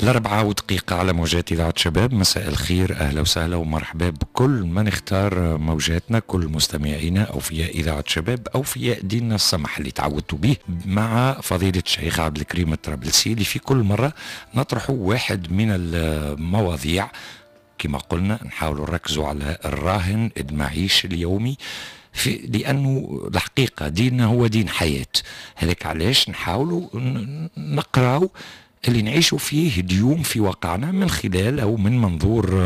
4:01 على موجات إذاعة شباب. مساء الخير، أهلا وسهلا ومرحبا بكل من اختار موجاتنا، كل مستمعينا أوفياء إذاعة شباب، أوفياء ديننا السمح اللي تعودتوا به، مع فضيلة الشيخ عبد الكريم الطرابلسي اللي في كل مرة نطرح واحد من المواضيع. كما قلنا نحاول نركزوا على الراهن المعيش اليومي، في لأنه الحقيقة ديننا هو دين حياة. هذاك علاش نحاولوا نقراو اللي نعيشوا فيه اليوم في واقعنا من خلال أو من منظور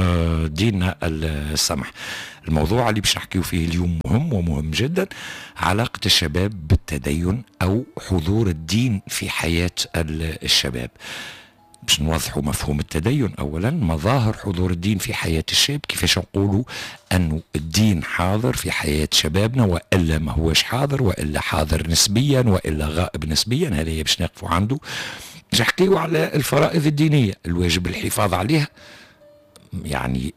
ديننا السمح. الموضوع اللي باش نحكيو فيه اليوم مهم ومهم جدا، علاقة الشباب بالتدين أو حضور الدين في حياة الشباب. باش نوضحوا مفهوم التدين أولا، مظاهر حضور الدين في حياة الشاب، كيفاش نقولوا أنه الدين حاضر في حياة شبابنا وإلا ما هوش حاضر، وإلا حاضر نسبيا وإلا غائب نسبيا. هذا باش نقفوا عنده. باش نحكيو على الفرائض الدينية، الواجب الحفاظ عليها. يعني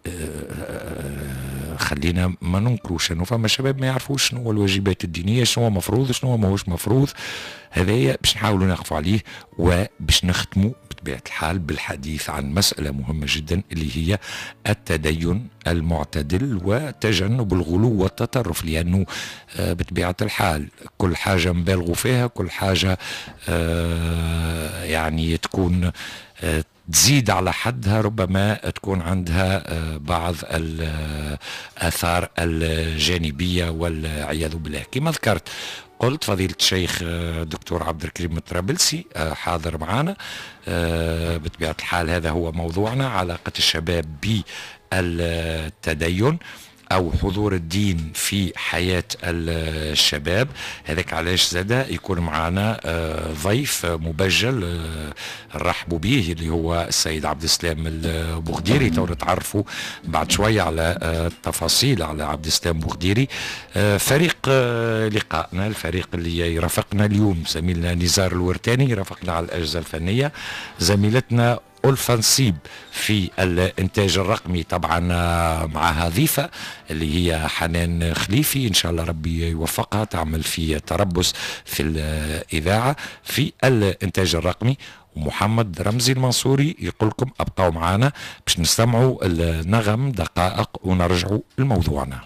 خلينا ما ننكروش انه فما شباب ما يعرفوش شنو هو الواجبات الدينية، شنو هو مفروض، شنو هو ماهوش مفروض. هذايا باش نحاولوا نقفوا عليه، وباش نختموا بطبيعة الحال بالحديث عن مسالة مهمة جدا اللي هي التدين المعتدل وتجنب الغلو والتطرف، لانه بطبيعة الحال كل حاجة نبالغوا فيها، كل حاجة يعني تكون تزيد على حدها ربما تكون عندها بعض الآثار الجانبية والعياذ بالله. كما ذكرت قلت فضيلة الشيخ دكتور عبد الكريم الطرابلسي حاضر معنا. بطبيعة الحال هذا هو موضوعنا، علاقة الشباب بالتدين أو حضور الدين في حياة الشباب. هذاك علاش زاد يكون معنا ضيف مبجل نرحبوا به اللي هو السيد عبد السلام البوغديري. تو نتعرفوا بعد شوية على التفاصيل على عبد السلام بوغديري. فريق لقائنا، الفريق اللي يرافقنا اليوم، زميلنا نزار الورتاني يرافقنا على الأجهزة الفنية، زميلتنا ألفا نصيب في الإنتاج الرقمي، طبعا معها ضيفة اللي هي حنان خليفي، إن شاء الله ربي يوفقها، تعمل في تربص في الإذاعة في الإنتاج الرقمي. ومحمد رمزي المنصوري يقول لكم أبقوا معنا باش نستمعوا النغم دقائق ونرجعوا لموضوعنا.